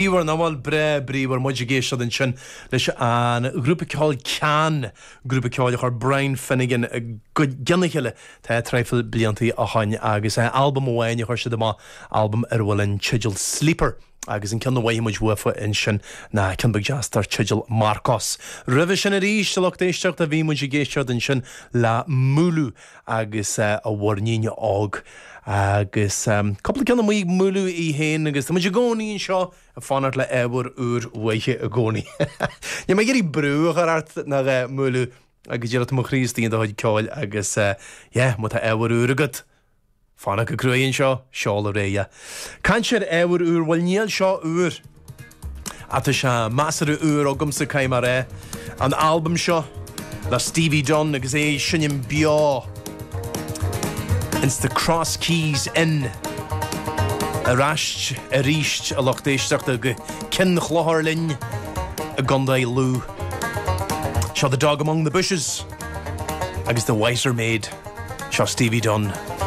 Bríomhar, nach bhfuil? Breá bríomhar. Muid ag éisteacht ansin leis an ghrúpa ceoil Can, grúpa ceoil a chuir Brian Finnegan i gcionn a chéile tá traidhfil bliantaí ó shoin agus albam amháin a chuir siad amach, albam ar a bhfuil an teideal Sleeper agus an ceann a mhothaigh muid uafa ansin ná ceann beag deas dar teideal Marcos. Roimhe sin arís, a lucht éisteachta, bhí muid ag éisteacht ansin le Mooloo agus a mhuirnín óg agus cúpla ceann amuigh ag Mooloo í féin agus tá muid i gcónaí anseo ag fanacht le ábhar úr uaithi i gcónaí. Níl mé ag iarraidh brú a chur ort ná a Mooloo ach go díreach tá mo chroí istigh in do chuid ceoil agus yeah má tá ábhar úr agat Fanacht go cruaidh anseo, seol ar aghaidh é. Caint ar ábhar úr, bhuel níl seo úr. Ach tá sé measartha úr agamsa, caithfidh mé a rá. An albam seo le Stevie Dunne agus é ag seinm beo ins The Cross Keys Inn ar ais arís a lucht éisteachta go Cionn Chlochair linn i gContae Lú. Seo The Dog Among the Bushes agus The Wiser Maid. Seo Stevie Dunne.